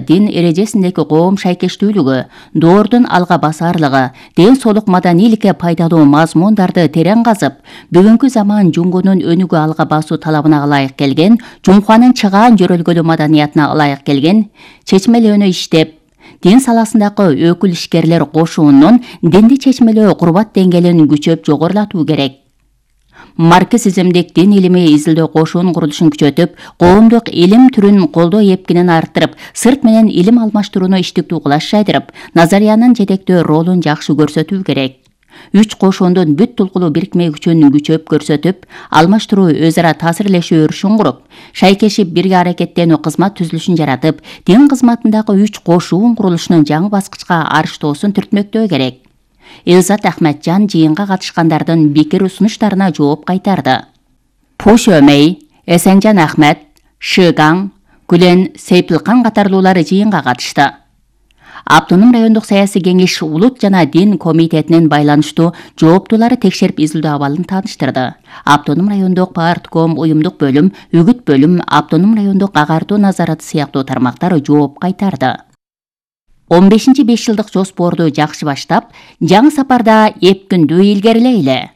дин эрежесиндеги коом шайкештүүлүгү, доордун алга басаарлыгы, ден соолук маданийликке пайдалуу мазмундарды терең казып, бүгүнкү заман жуңгунун өнүгүү алга басуу талабына ылайык келген, жумханын чыгаан жөрөлгөлүү маданиятына ылайык келген, чечмелөөнү иштеп, дин саласындагы өкүл ишкерлер кошуунун динди чечмелөө курбат деңгээлин күчөп жогорулатуу керек. Марксизмдик дин илими изилдөө кошуун курулушун күчөтүп, коомдук илим түрүн колдоо эпкинин арттырып, сырт менен илим алмаштырууну иштиктүү кылаш жайдырып, назариянын жетектөө ролун жакшы көрсөтүү керек. Үч кошуундун бүт тулкулуу бирикме күчүн күчөп көрсөтүп, алмаштыруу өз ара таасирлешүү өрүшүн куруп, шайкешип бирге аракеттенүү кызмат түзүлүшүн жаратып, дин кызматындагы үч кошуун курулушунун жаңы баскычка арыштоосун түртмөктөө керек. Элзат Ахметжан жыйынга катышкандардын пикир сунуштарына жооп кайтарды. Пуш Өмей, Эсенжан Ахмет, Шыгаң, Гүлен Сейпилкан катарлуулар жыйынга катышты. Автоном райондук саясий кеңеш улут жана дин комитетинин байланыштуу жооптуулары текшерип изилдөө абалын тааныштырды. Автоном райондук партком уюмдук бөлүм, үгүт бөлүм, автоном райондук агартуу назараты сыяктуу тармактар жооп кайтарды. 15-5 жылдык жоспорду жакшы баштап, жаңы сапарда эпкиндүү илгерилейли.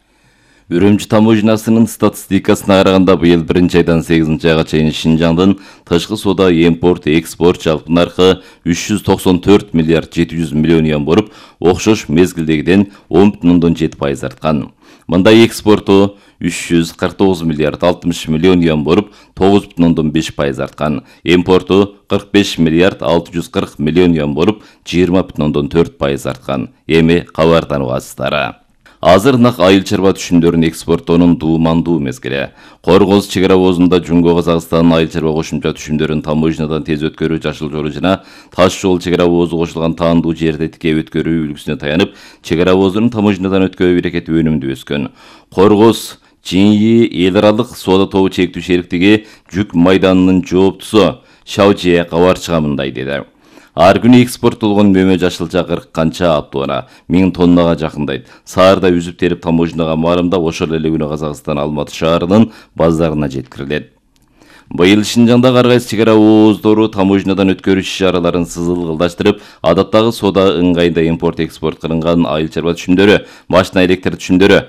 Үрүмчү таможнасынын статистикасына караганда быйыл 1-айдан 8-айга чейин Шинжаңдын тышкы соода импорт экспорт жалпы наркы 394 миллиард 700 миллион юан болуп, окшош мезгилдегиден 10,7% арткан. Мындай экспорту 349 миллиард 60 миллион юан болуп, 9,5% арткан. Импорту 45 миллиард 640 миллион юан болуп, 20,4% арткан. Эми кабарданыбыздар. Азыр нак айыл чарба түшүмдөрүн экспорттоонун дуумандуу мезгили. Коргоз чек ара оозунда Жумго Казакстан айыл чарба кошумча түшүмдөрүн таможнядан тез өткөрүү жашыл жолу жана таш жол чек ара оозу кошулган таандуу жерде тике өткөрүү үлгүсүнө таянып, чек ара оозунун таможнядан өткөрүү берекети өнүмдүү өскөн. Коргоз ЖИИ эл аралык соода тобу чектүү шериктиги жүк майданынын жооптусу Шаужие кабарчыга мындай деди. Ар күнү экспорттолгон мөмө жашылча 40 канча аптоона 1000 тоннага жакындайт. Саарда үзүп терип таможняга маарымдап, ошол эле күнү Казакстан Алматы шаарынын базарына жеткирилет. Быйыл Шинжаңда ар кайсы чек ара ооздору таможнядан өткөрүү иш-чараларын сызылгылдаштырып, адаттагы соода ыңгайында импорт экспорт кылынган айыл чарба түшүмдөрү, машина электр түшүмдөрү,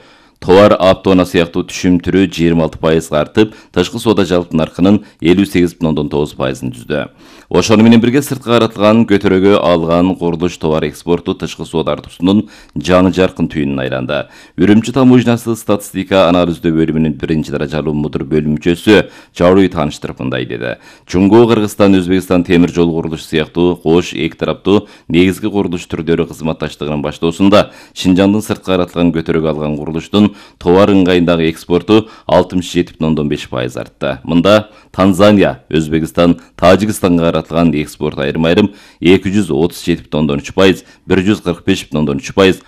товар аптоона сыяктуу түшүм түрү 26% артып, тышкы соода жалпы наркынын 58,9%-ын түздү. Ошону менен бирге сыртка каратылган көтөрөгө алган курулуш товар экспорту тышкы соода артуусунун жаңы жаркын түйүнүн айланды. Үрүмчү таможнясы статистика анализдөө бөлүмүнүн 1-даражалуу мудир бөлүмчөсү Жауруй тааныштырып мындай деди. Жумго Кыргызстан Өзбекстан темир жол курулушу сыяктуу кош эки тараптуу негизги курулуш түрдөрү кызматташтыгынын баштоосунда Шинжаңдын сыртка каратылган көтөрөгө алган курулуштун товар ыңгайындагы экспорту 67,5% артты. Мында Танзания, Өзбекстан, Тажикстанга каратылган экспорт айрым-айрым 237,3%, 145,3%,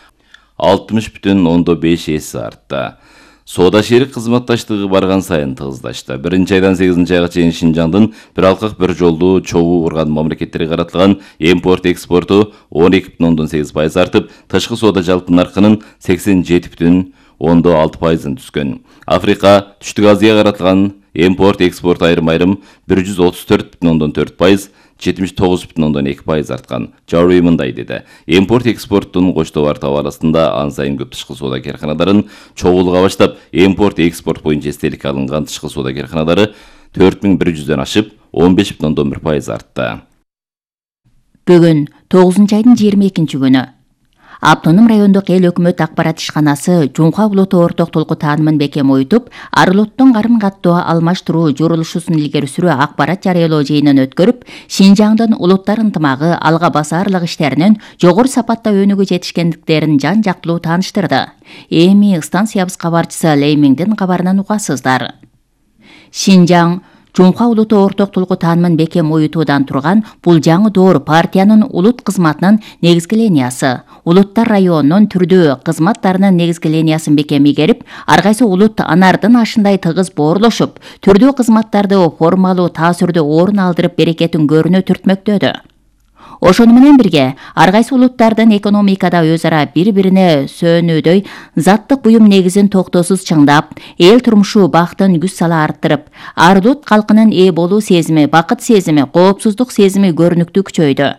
60,5 эсе артты. Соода шерик кызматташтыгы барган сайын тыгыздашты. 1-айдан 8-айга чейин Шинжаңдын бир алкак бир жолдуу чогуу урган мамлекеттерге каратылган импорт экспорту 12,8% артып, тышкы соода жалпы наркынын 87,6%-ын түзгөн. Африка, Түштүк Азияга каратылган импорт экспорт айрым-айрым 134,4%, 79,2% арткан. Жауруй мындай деди. Импорт экспорттун коч товар табаласында ан сайын көп тышкы соода карканадарын чогулуга баштап, импорт экспорт боюнча эстеликке алынган тышкы соода карканадары 4100дөн ашып, 15,1% артты. Бүгүн 9-айдын 22-күнү Автоном райондук эл өкмөт акбарат ишканасы Жумга улуттуу орток толку таанымын бекем ойтуп, ар улуттун карым-каттоо алмаштыруу журулушусун илгери сүрүү акбарат жарыялоо жыйынын өткөрүп, Шинжаңдын улуттар ынтымагы алга басаарлык иштеринин жогору сапатта өнүгүү жетишкендиктерин жан-жактылуу тааныштырды. Эми станциябыз кабарчысы Леймиңдин кабарынан угасыздар. Шинжаң Жумга улуттуу орток толку таанымын бекем оютуудан турган бул жаңы доор партиянын улут кызматынын негизги линиясы. Улуттар районунун түрдүү кызматтарынын негизги линиясын бекем игерип, ар кайсы улут анардын ашындай тыгыз боорлошуп, түрдүү кызматтарды формалуу таасирдүү орун алдырып берекетин көрүнө түртмөктөдү. Ошону менен бирге ар кайсы улуттардын экономикада өз ара бири-бирине сөөнүүдөй заттык буюм негизин токтоосуз чыңдап, эл турмушу бактын күч сала арттырып, ар улут калкынын ээ болуу сезими, бакыт сезими, коопсуздук сезими көрүнүктүү күчөйдү.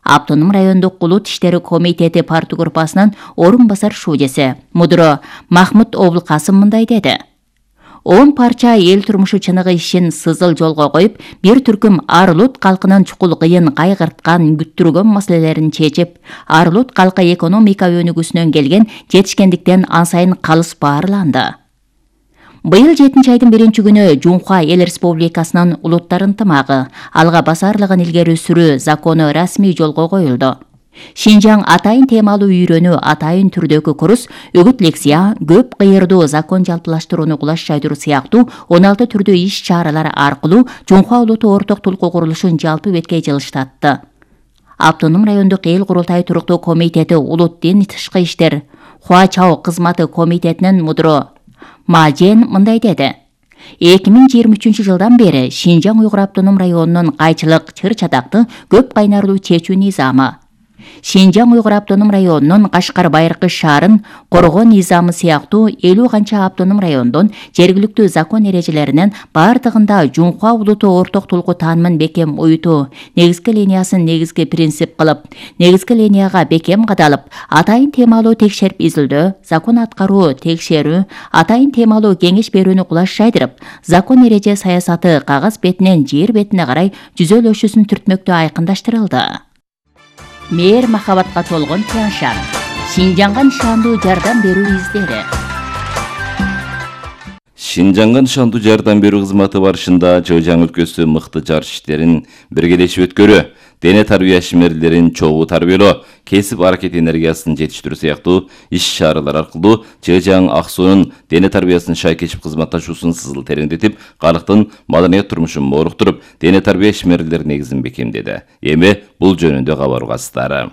Автоном райондук улут иштери комитети партия группасынын орун басар шуудеси мудро Махмут Облкасым мындай деди. 10 парча эл турмушу чыныгы ишин сызыл жолго коюп, бир түркүм ар улут калкынын чукул кыйын кайгырткан, күттүргөн маселелерин чечип, ар улут калкы экономика өнүгүүсүнөн келген жетишкендиктен ан сайын калыс баарланды. Быйыл 7-айдын 1-күнү Жунхва эл республикасынын улуттар ынтымагы, алга басарлыгын илгери сүрүү закону расмий жолго коюлду. Шинжаң атайын темалуу үйрөнүү, атайын түрдөгү курс, үгүт лекция, көп кыйырдуу закон жалпылаштырууну кулаш жайдыруу сыяктуу 16 түрдүү иш-чаралар аркылуу Жунхва улуту орток тулкуу курулушун жалпы бетке жылыштатты. Автоном райондук эл курултай туруктуу комитети улут дин тышкы иштер Хуачао кызматы комитетинин мудро Мажен мындай деди. 2023 жылдан бери Шинжаң Уйгур автоном районунун кайчылык, чыр-чатакты көп кайнарлуу чечүү низамы, Шинжаң Уйгур автоном районунун Кашкар Байыркы шаарын коргоо низамы сыяктуу 50 канча автоном райондон жергиликтүү закон эрежелеринин бардыгында Жунхва улуту орток тулкуу таанымын бекем уютуу, негизги линиясын негизги принцип кылып, негизги линияга бекем кадалып, атайын темалуу текшерип изилдөө, закон аткаруу, текшерүү, атайын темалуу кеңеш берүүнү кулаш жайдырып, закон эреже саясаты кагаз бетинен жер бетине карай жүзөлөшүүсүн түртмөктүү айкындаштырылды. Мээр махабатка толгон Тяншан. Шинжаңга нышандуу жардам берүү издери. Шинжаңга нышандуу жардам берүү кызматы барышында Чыжаң өлкөсү мыкты жарыш иштерин биргелешип өткөрүү, дене тарбия ишмерлерин чогуу тарбиялоо, кесип аракет энергиясын жетиштирүү сыяктуу иш-чаралар аркылуу Чыжаң Аксуунун дене тарбиясын шайкечип кызматташуусун сызыл тереңдетип, калктын маданият турмушун мооруктуруп, дене тарбия ишмерлер негизин бекемдеди. Эми бул жөнүндө кабар угасыздары.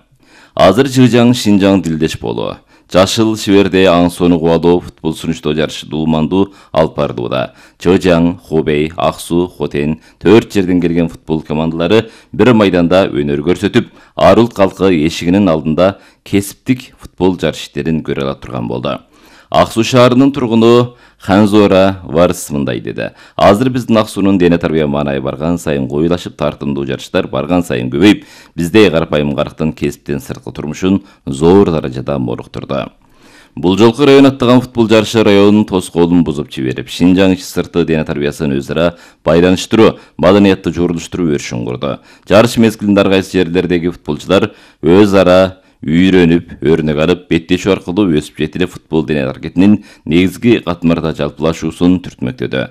Азыр Чыжаң Шинжаң дилдеш болуу, Жашыл Шиберде аң сону кубалоо футбол сунуштоо жарышы дуумандуу алып барылууда. Чыжаң, Хубей, Аксуу, Хотен 4 жерден келген футбол командалары бир майданда өнөр көрсөтүп, ар улут калкы эшигинин алдында кесиптик футбол жарыш иштерин көрө ала турган болду. Аксуу шаарынын тургуну Ханзора Варс мындай деди. Азыр биздин Аксуунун дене тарбия маанайы барган сайын коюлашып, тартымдуу жарыштар барган сайын көбөйүп, бизде карапайым карактын кесиптен сырткы турмушун зор даражада мооруктурду. Бул жолку район аттаган футбол жарышы районунун тоскоолун бузуп жиберип, Шинжаң ич-сырты дене тарбиясын өз ара байланыштыруу, маданиятты журулуштуруу өрүшүн курду. Жарыш мезгилинде ар кайсы жерлердеги футболчулар өз ара үйрөнүп, өрнөк алып, беттешүү аркылуу өсүп жетилип футбол дене аракетинин негизги катмарда жалпылашуусун түртмөктөдү.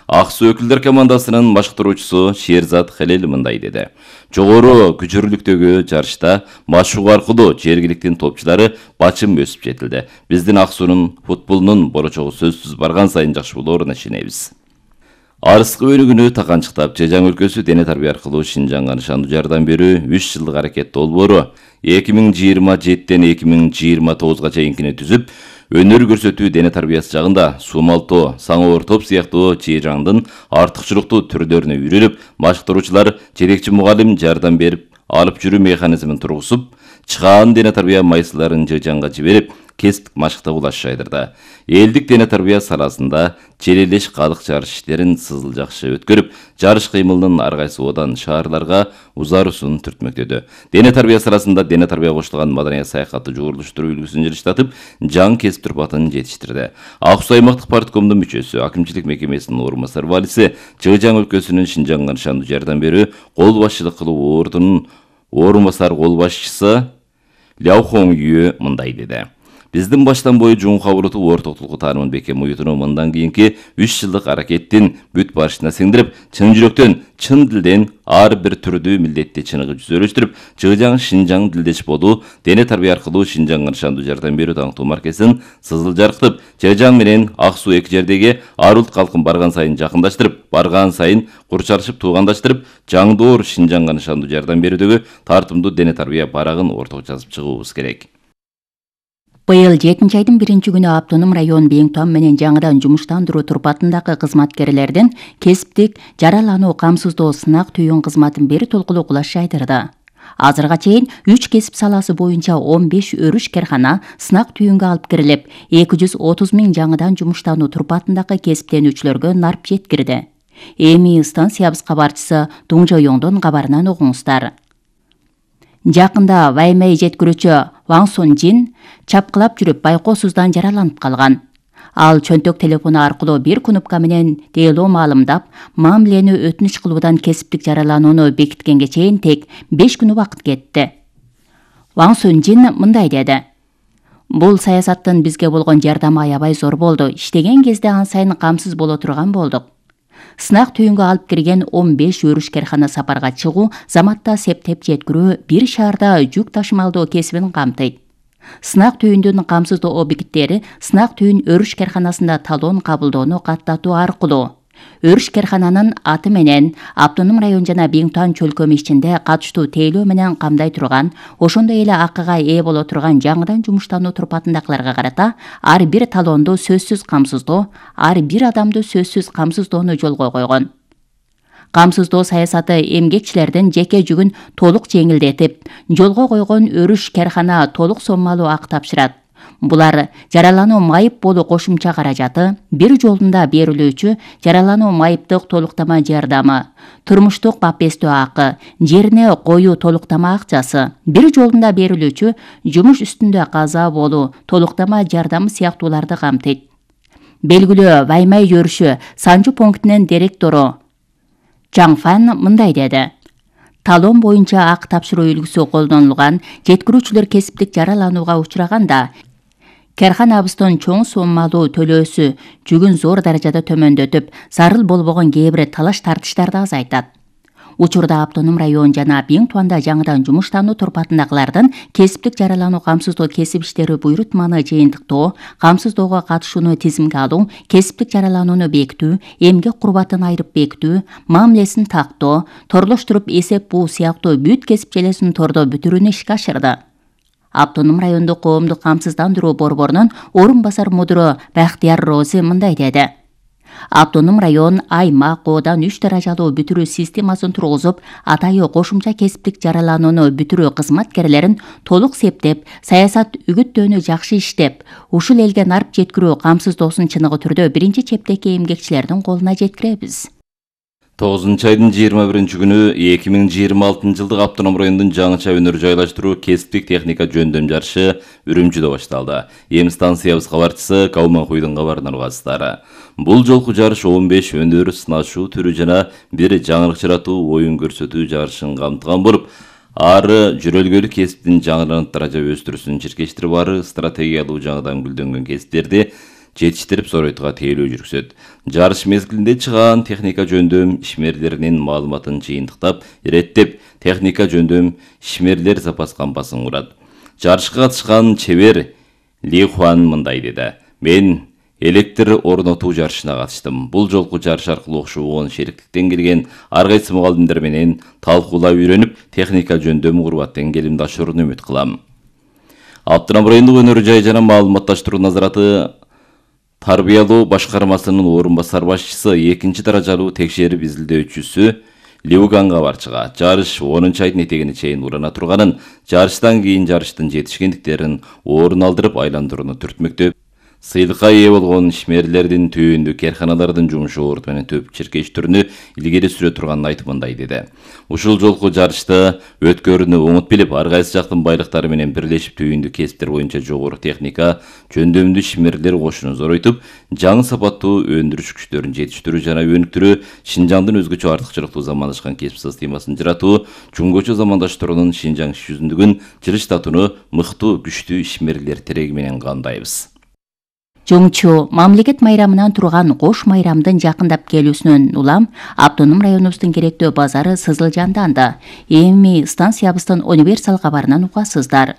Аксуу өкүлдөр командасынын башкаруучусу Шерзат Халел мындай деди. Жогору күчүрүлүктөгү жарышта машыгуу аркылуу жергиликтин топчулары бачым өсүп жетилди. Биздин Аксуунун футболунун болочогу сөзсүз барган сайын жакшы болооруна ишенебиз. Арыскы өнүгүүнү таканчыктап, Чыжаң өлкөсү дене тарбия аркылуу Шинжаңга нышандуу жардам берүү 3 жылдык аракет долбоору 2027-ден 2029-га чейинкини түзүп, өнөр көрсөтүү дене тарбиясы жагында сумалтоо, саңоор топ сыяктуу Чыжаңдын артыкчылыктуу түрлөрүнө үйрөнүп, башкаруучулар жетекчи мугалим жардам берип, алып жүрүү механизмин тургузуп, чыгаан дене тарбия майсыларын Чыжаңга жиберип, кесиптик машыкта кулаш жайдырды. Элдик дене тарбия саласында челелеш калык жарыш иштерин сызыл жакшы өткөрүп, жарыш кыймылынын ар кайсы одан шаарларга узаруусун түртмөктөдү. Дене тарбия саласында дене тарбия коштулган маданият саякатты жогорулуштуруу үлгүсүн жылыштатып, жаңы кесип турпатын жетиштирди. Аксуу аймактык парткомдун мүчөсү, акимчилик мекемесинин орун басар валиси, Чыжаң өлкөсүнүн Шинжаңга нышандуу жардам берүү кол башчылык кылуу ордунун орун басар кол башчысы Ляо Хоң Юэ мындай деди. Биздин баштан бою Жунхва улуту ортоктулук таанымын бекем уютууну мындан кийинки 3 жылдык аракеттин бүт барышына сиңдирип, чын жүрөктөн, чын дилден ар бир түрдүү милдетти чыныгы жүзөлөштүрүп, Чыжаң Шинжаң дилдеш болуу, дене тарбия аркылуу Шинжаңга нышандуу жардам берүү таңктуу маркесин сызыл жаркытып, Чыжаң менен Аксуу эки жердеги ар улут калкын барган сайын жакындаштырып, барган сайын курчалышып туугандаштырып, жаңдоор Шинжаңга нышандуу жардам берүүдөгү тартымдуу дене тарбия барагын ортого жазып чыгуубуз керек. Быйыл 7-айдын 1-күнү автоном район Бейиңтон менен жаңыдан жумуштандыруу турпатындагы кызматкерлердин кесиптик жаралануу камсыздоо сынак түйүн кызматын бир толкулуу кулаш жайдырды. Азырга чейин 3 кесип саласы боюнча 15 өрүш кархана сынак түйүнгө алып кирилип, 230 000 жаңыдан жумуштануу турпатындагы кесиптенүүчүлөргө нарп жеткирди. Эми станциябыз кабарчысы Дуң Жоюңдун кабарынан угуңуздар. Жакында Ваймей жеткирүүчү Ваң Сун-жин чапкылап жүрүп байкоосуздан жараланып калган. Ал чөнтөк телефону аркылуу бир кнопка менен тейлөө маалымдап, мамилени өтүнүч кылуудан кесиптик жараланууну бекиткенге чейин тек 5 күн убакыт кетти. Ваң Сун-жин мындай деди: "Бул саясаттын бизге болгон жардамы аябай зор болду. Иштеген кезде ан сайын камсыз боло турган болдук. Сынак түйүнгө алып кирген 15 өрүш кархана сапарга чыгуу, заматта септеп жеткирүү, бир шаарда жүк ташымалдоо кесибин камтыйт. Сынак түйүндүн камсыздоо объекттери сынак түйүн өрүш карханасында талон кабылдоону каттатуу аркылуу өрүш кархананын аты менен автоном район жана Биңтуан чөлкөмү ичинде катыштуу тейлөө менен камдай турган, ошондой эле акыга ээ боло турган жаңыдан жумуштануу турпатындагыларга карата ар бир талонду сөзсүз камсыздоо, ар бир адамды сөзсүз камсыздоону жолго койгон. Камсыздоо саясаты эмгекчилердин жеке жүгүн толук жеңилдетип, жолго койгон өрүш кархана толук соммалуу ак тапшырат. Булар жаралануу майып болуу кошумча каражаты, бир жолунда берилүүчү жаралануу майыптык толуктама жардамы, турмуштук бапестөө акы, жерине коюу толуктама акчасы, бир жолунда берилүүчү жумуш үстүндө каза болуу толуктама жардамы сыяктууларды камтыйт. Белгилүү Ваймей өрүшү Санжу пунктунун директору Чаң Фан мындай деди: "Талон боюнча ак тапшыруу үлгүсү колдонулган жеткирүүчүлөр кесиптик жараланууга учураганда, карханабыздын чоң соммалуу төлөөсү жүгүн зор даражада төмөндөтүп, зарыл болбогон кээ бир талаш тартыштарды азайтат. Учурда автоном район жана Биңтуанда жаңыдан жумуштануу турпатындагылардын кесиптик жаралануу камсыздоо кесип иштери буйрутманы жыйынтыктоо, камсыздоого катышууну тизимге алуу, кесиптик жараланууну бекитүү, эмгек курбатын айырып бекитүү, мамилесин тактоо, торлоштуруп эсеп буу сыяктуу бүт кесип желесин тордо бүтүрүүнү ишке ашырды." Автоном райондук коомдук камсыздандыруу борборунун орун басар мудуру Бахтияр Рози мындай деди: "Автоном район аймак коодан 3 даражалуу бүтүрүү системасын тургузуп, атайы кошумча кесиптик жараланууну бүтүрүү кызматкерлерин толук септеп, саясат үгүттөөнү жакшы иштеп, ушул элге нарп жеткирүү камсыздоосун чыныгы түрдө биринчи чептеги эмгекчилердин колуна жеткиребиз." 9-айдын 21-күнү 2026 жылдык автоном райондун жаңыча өнөр жайлаштыруу кесиптик техника жөндөм жарышы Үрүмчүдө башталды. Эми станциябыз кабарчысы Кауманхуйдун кабарынан угасыздар. Бул жолку жарыш 15 өнөр сынашуу түрү жана бир жаңырыкчыратуу оюн көрсөтүү жарышын камтыган болуп, ары жүрөлгөлүк кесиптин жаңыланып даража өстүрүүсүн чиркештирип, ары стратегиялуу жаңыдан гүлдөнгөн кесиптерди жетиштирип соройтуга тейлөө жүргүзөт. Жарыш мезгилинде чыган техника жөндөм ишмерлеринин маалыматын жыйынтыктап, иреттеп, техника жөндөм ишмерлер запас кампасын курат. Жарышка катышкан чебер Ли Хуан мындай деди: "Мен электр орнотуу жарышына катыштым. Бул жолку жарыш аркылуу окшогон шериктиктен келген ар кайсы мугалимдер менен талкуулап үйрөнүп, техника жөндөм куруп тең ашырууну үмүт кылам." Автоном райондук өнөр жай жана маалыматташтыруу назараты тарбиялоо башкармасынын орун басар башчысы 2 даражалуу текшерип изилдөөчүсү Лиуган кабарчыга жарыш 10-айдын этегине чейин урана турганын, жарыштан кийин жарыштын жетишкендиктерин орун алдырып айландырууну түртмөктөп, сыйлыкка ээ болгон ишмерлердин түйүндүү карханалардын жумушу орду менен төп чиркештирүүнү илгери сүрө турганын айтып мындай деди: "Ушул жолку жарышта өткөрүүнү оңут билип, ар кайсы жактын байлыктары менен бирлешип түйүндүү кесиптер боюнча жогору техника жөндөмдүү ишмерлер кошууну зоройтуп, жаңы сапаттуу өндүрүш күчтөрүн жетиштирүү жана өнүктүрүү, Шинжаңдын өзгөчө артыкчылыктуу замандаашкан кесип системасын жаратуу, жумгочу замандаштыруунун Шинжаң иш жүзүндүгүн жылыштатууну мыктуу, күчтүү ишмерлер тереги менен камдайбыз." Жоңчу мамлекет майрамынан турган кош майрамдын жакындап келүүсүнөн улам автоном районубуздун керектүү базары сызылжанданды. Эми станциябыздын универсал кабарынан угасыздар.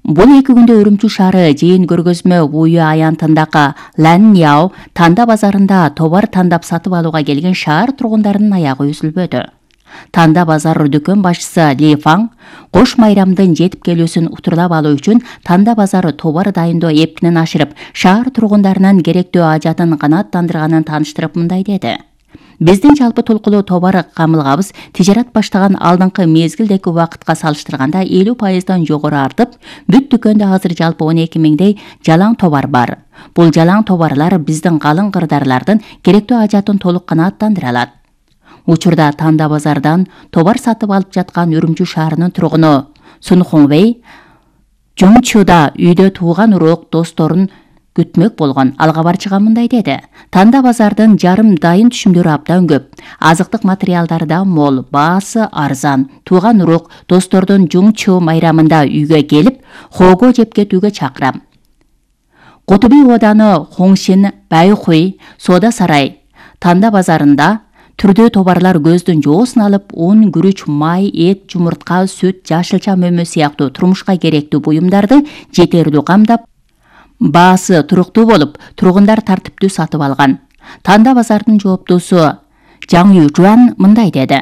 Бул 2 күндө Үрүмчү шаары жыйын көргөзмө буюу аянтындагы Ланьяо танда базарында товар тандап сатып алууга келген шаар тургундарынын аягы үзүлбөдү. Танда базар дүкөн башчысы Ли Фаң кош майрамдын жетип келүүсүн утурлап алуу үчүн танда базары товар дайындоо эпкинин ашырып, шаар тургундарынын керектүү ажатын канааттандырганын тааныштырып мындай деди: Биздин жалпы толкулуу товар камылгабыз тижарат баштаган алдыңкы мезгилдеги убакытка салыштырганда 50% жогору артып, бүт дүкөндө азыр жалпы 12 миңдей жалаң товар бар. Бул жалаң товарлар биздин калың кырдаарлардын керектүү ажатын толук канааттандыра алат. Учурда Танда базардан товар сатып алып жаткан Үрүмчү шаарынын тургуну Сун Хоңвей Жумчуда үйдө тууган урок досторун күтмөк болгон. Ал кабарчыга мындай деди: Танда базардын жарым дайын түшүмдөрү абдан көп. Азыктык материалдары да мол, баасы арзан. Тууган урок достордун Жумчу майрамында үйгө келип, хого жеп кетүүгө чакырам. Кутуби ооданы Хоңшин, Байхуй, Соода сарай, Танда базарында түрдүү товарлар көздүн жоосун алып, un, күрүч, май, эт, жумуртка, сүт, жашылча мөмө сыяктуу турмушка керектүү буюмдарды жетердүү камдап, баасы туруктуу болуп, тургундар тартиптүү сатып алган. Танда базардын жооптуусу Жаң Южуан мындай деди: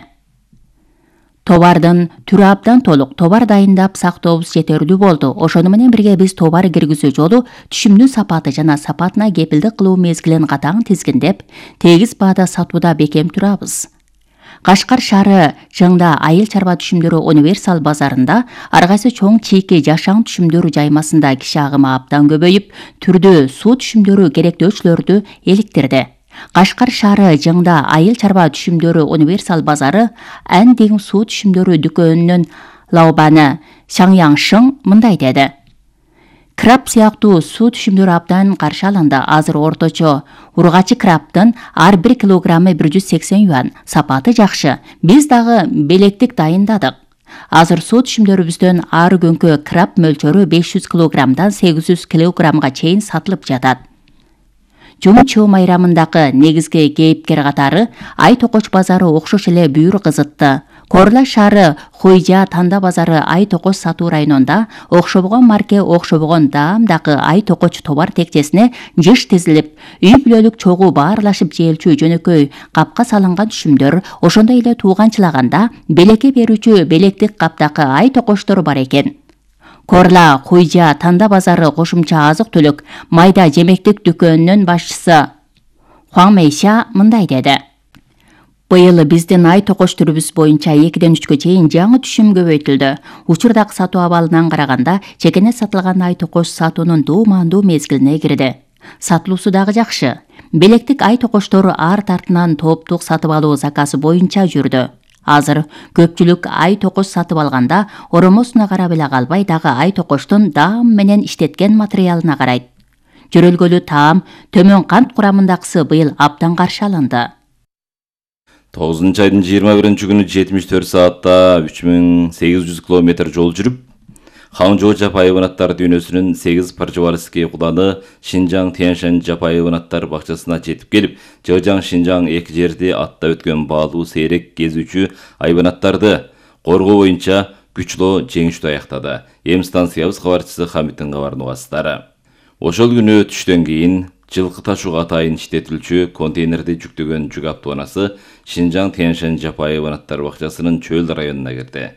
Товардын түрү абдан толук, товар дайындап сактообуз жетердүү болду. Ошону менен бирге биз товар киргизүү жолу, түшүмдүн сапаты жана сапатына кепилдик кылуу мезгилин катаң тизгиндеп, тегиз баада сатууда бекем турабыз. Кашкар шаары Жыңда айыл чарба түшүмдөрү универсал базарында ар кайсы чоң чийки жашаң түшүмдөр жаймасында киши агымы абдан көбөйүп, түрдүү суу түшүмдөрү керектөөчүлөрдү эликтирди. Кашкар шаары Жыңда айыл чарба түшүмдөрү универсал базары Андиң суу түшүмдөрү дүкөнүнүн Лаобаны Шаңяңшың мындай деди: Краб сыяктуу суу түшүмдөрү абдан каршы алынды. Азыр орточо ургачы крабтын ар 1 килограммы 180 юан. Сапаты жакшы. Биз дагы белектик дайындадык. Азыр суу түшүмдөрүбүздөн ар күнкү краб мөлчөрү 500 килограммдан 800 килограммга чейин сатылып жатат. Жумчу майрамындагы негизги кейипкер катары Ай Токоч базары окшош эле бүйүр кызытты. Корла шаары Хуйжа Танда базары Ай Токоч сатуу районунда окшобогон марке, окшобогон даамдагы Ай Токоч товар текчесине жыш тизилип, үй бүлөлүк чогуу баарлашып жээлчү жөнөкөй капка салынган түшүмдөр, ошондой эле тууганчылаганда белекке берүүчү белектик каптакы Ай Токочтор бар экен. Корла Хуйжа Танда базары кошумча азык-түлүк майда жемектик дүкөнүнүн башчысы Хуаң Мэйша мындай деди: Быйыл биздин Ай Токоч түрүбүз боюнча 2-ден 3кө чейин жаңы түшүм көбөйтүлдү. Учурдагы сатуу абалынан караганда чекене сатылган Ай Токоч сатуунун дуумандуу мезгилине кирди. Сатылуусу дагы жакшы. Белектик Ай Токочтор ар тартынан тооптук сатып алуу заказы боюнча жүрдү. Азыр көпчүлүк Ай Токоч сатып алганда оромосуна карап эле калбай, дагы Ай Токочтун даам менен иштеткен материалына карайт. Жөрөлгөлүү таам, төмөн кант курамындагысы быйыл абдан каршы алынды. 9-айдын 21-күнү 74 саатта 3800 километр жол жүрүп, Хаңжоо Жапаевын аттар дүйнөсүнүн 8 Паржеварский куланы Шинжаң Тяньшань Жапаевын аттар бакчасына жетип келип, Жыжаң Шинжаң эки жерди атта өткөн баалуу сейрек кезүүчү айбанаттарды коргоо боюнча күчлүү жеңиштүү аяктады. Эм станциябыз кабарчысы Хамиттин кабарын угасыздар. Ошол күнү түштөн кийин жылкы ташууга атайын иштетилчү контейнерди жүктөгөн жүк автоунасы Шинжаң Тяньшань Жапаевын аттар бакчасынын чөл районуна кирди.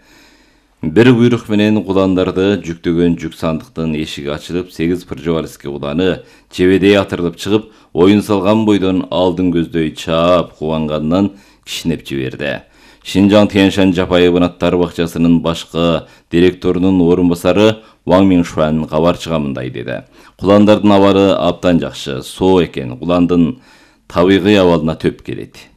Бир буйрук менен куландарды жүктөгөн жүк сандыктын эшиги ачылып, 8 Паржеварский куланы чебедей атырылып чыгып, оюн салган бойдон алдын көздөй чаап кубанганынан кичинеп жиберди. Шинжаң Тяньшань Жапаевын аттар бакчасынын башкы директорунун орун басары Ваң Миншуан кабарчыга мындай деди: Куландардын абалы абдан жакшы, соо экен, куландын табигый абалына төп келет.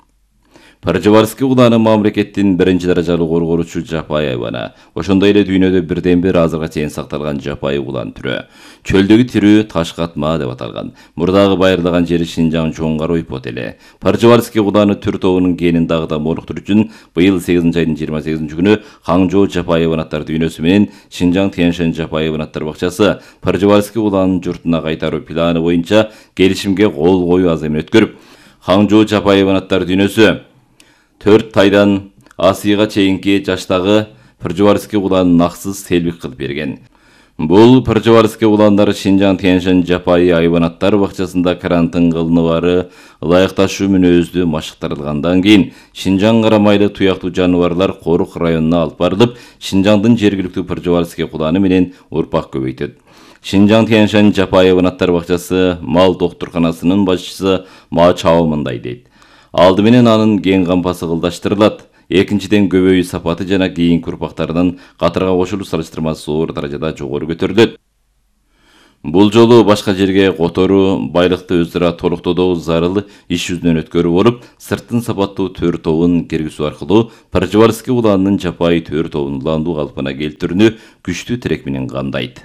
Паржеварский куланы мамлекеттин 1-даражалуу коргоочу жапайы айбаны. Ошондой эле дүйнөдө бирден-бир азырга чейин сакталган жапайы кулан түрү. Чөлдөгү тирүү ташкатма деп аталган. Мурдагы байырлаган жери Шинжаң чоңгар ойпот эле. Паржеварский куланы түр тобунун генин дагы да моруктуруу үчүн быйыл 8-айдын 28-күнү Хаңжоо Жапаевын аттар дүйнөсү менен Шинжаң Тяньшань Жапаевын аттар бакчасы Паржеварский куланын журтуна кайтаруу планы боюнча келишимге кол коюу аземин өткөрүп, Хаңжоо Жапаевын аттар дүйнөсү 4 тайдан асыйга чейинки жаштагы Паржеварский куланын наксыз селбик кылып берген. Бул Паржеварский куландары Шинжаң Тяньшань Жапайы айбанаттар бакчасында карантин кылыныбары ылайыкташуу мүнөздүү машыктырылгандан кийин Шинжаң карамайлы туяктуу жаныбарлар корук районуна алып барылып, Шинжаңдын жергиликтүү Паржеварский куланы менен урпак көбөйтөт. Шинжаң Тяньшань Жапайы айбанаттар бакчасы мал доктурканасынын башчысы Ма Чао мындай дейт: Алды менен анын кең кампасы кылдаштырылат. Экинчиден көбөйүү сапаты жана кийинки урпактарынын катарга кошулуу салыштырмасы зор даражада жогору көтөрүлөт. Бул жолу башка жерге которуу, байлыкты өзара толуктоодо зарыл иш жүзүнөн өткөрүү болуп, сырттын сапаттуу төр тобун киргизүү аркылуу Пржевальский уланынын жапайы төр тобун уландуу калпына келтирүүнү күчтүү тирек менен камдайт.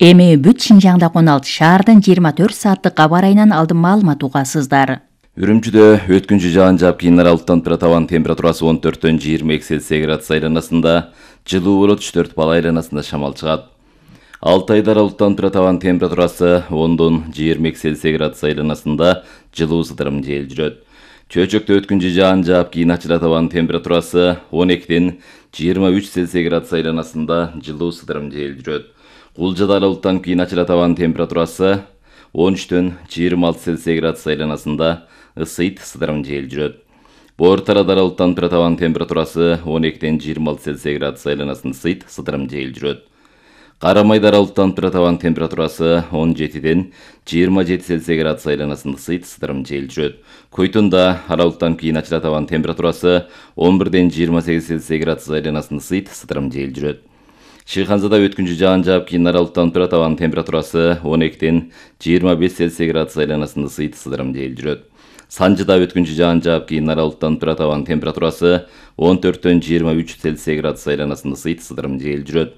Эми бүт Шинжаңда 16 шаардын 24 сааттык кабар айынан алдын маалымат угасыздар. Үрүмчүдө өткүнчү жаан жаап кийин аралыктан тура табан температурасы 14-төн 22 Цельсий градус айланасында, жылуу болот 3-4 бал айланасында шамал чыгат. Алтайда аралыктан тура табан температурасы 10-дон 22 Цельсий градус айланасында, жылуу сыдырым жел жүрөт. Чөйчөктө өткүнчү жаан жаап кийин ачыла табан температурасы 12-ден 23 Цельсий градус айланасында, жылуу сыдырым жел жүрөт. Кулжада аралыктан кийин ачыла табан температурасы 13-төн 26 Цельсий градус айланасында, ысыйт сыдырым жел жүрөт. Бортарада аралыктан тура табан температурасы 12-ден 26 Цельсий градус айланасында, ысыйт сыдырым жел жүрөт. Карамайда аралыктан тура табан температурасы 17-ден 27 Цельсий градус айланасында, ысыйт сыдырым жел жүрөт. Койтунда аралыктан кийин ачыла табан температурасы 11-ден 28 Цельсий градус айланасында, ысыйт сыдырым жел жүрөт. Шыйханзада өткүнчү жаан жаап кийин аралыктан тура табан температурасы 12-ден 25 Цельсий градус айланасында, ысыйт сыдырым жел жүрөт. Санжыда өткүнчү жаан жаап кийин аралыктан тура табан температурасы 14-төн 23 Цельсий градус айланасында, ысыйт сыдырым жел жүрөт.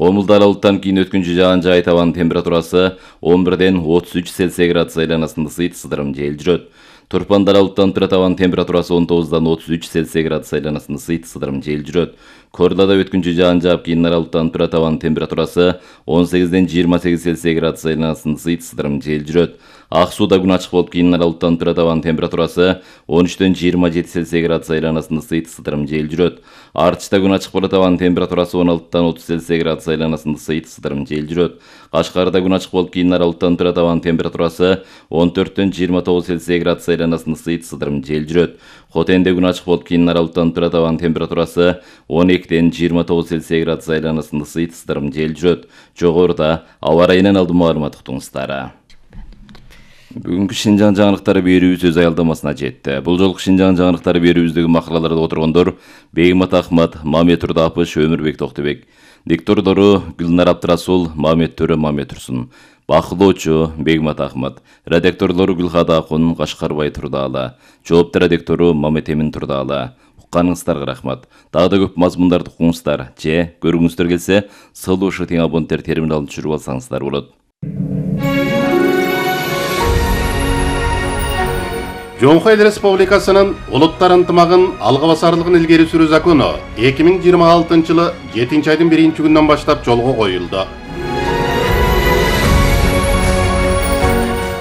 Комулда аралыктан кийин өткүнчү жаан жаай табан температурасы 11-ден 33 Цельсий градус айланасында, ысыйт сыдырым жел жүрөт. Турпанда аралыктан тура табан температурасы 19-дан 33 Цельсий градус айланасында, ысыйт сыдырым жел жүрөт. Корлада өткүнчү жаан жаап кийин аралыктан тура табан температурасы 18-ден 28 Цельсий градус айланасында, ысыйт сыдырым жел жүрөт. Ак сууда күн ачык болуп кийин аралыктан тура табан температурасы 13-ден 27 Цельсий градус айланасында, ысыйт сыдырым жел жүрөт. Артышта күн ачык боло табан температурасы 16-дан 30 Цельсий градус айланасында, ысыйт сыдырым жел жүрөт. Кашкарда күн ачык болуп кийин аралыктан тура табан температурасы 14-төн 29 Цельсий градус айланасында, ысыйт сыдырым жел жүрөт. Хотенде күн ачык болуп кийин аралыктан тура табан температурасы 12-ден 29 Цельсий градус айланасында, ысыйт сыдырым жел жүрөт. Жогоруда аба ырайынан алдын маалымат уктуңуздар. Бүгүнкү Шинжаң жаңылыктары берүүбүз өз аялдамасына жетти. Бул жолку Шинжаң жаңылыктары берүүбүздөгү макалаларда отургондор Бегмат Ахмат, Мамет Турдапыш, Өмүрбек Токтубек. Диктордору Гүлнар Абдрасул, Мамет Төрө, Мамет Турсун. Бакылоочу Бегмат Ахмат. Редакторлору Гүлхада Акун, Кашкарбай Турдаала. Жоопту редактору Мамет Эмин Турдаала. Укканыңыздарга рахмат. Дагы да көп мазмундарды укуңуздар же көргүңүздөр келсе, сылуушу тең абоненттер терминалын түшүрүп алсаңыздар болот. Жоңхо Эл Республикасынын улуттар ынтымагын алга басарлыгын илгери сүрүү закону 2026-жылы 7-айдын 1-күнүнөн баштап жолго коюлду.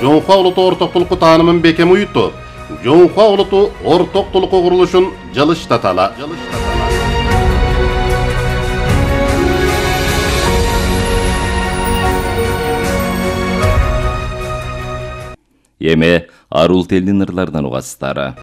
Жоңхо улуту ортоктулукку таанымын бекем уютуп, Жоңхо улуту ортоктулукку курулушун жылыштатала. Эми арул телдин ырларынан угасыздар.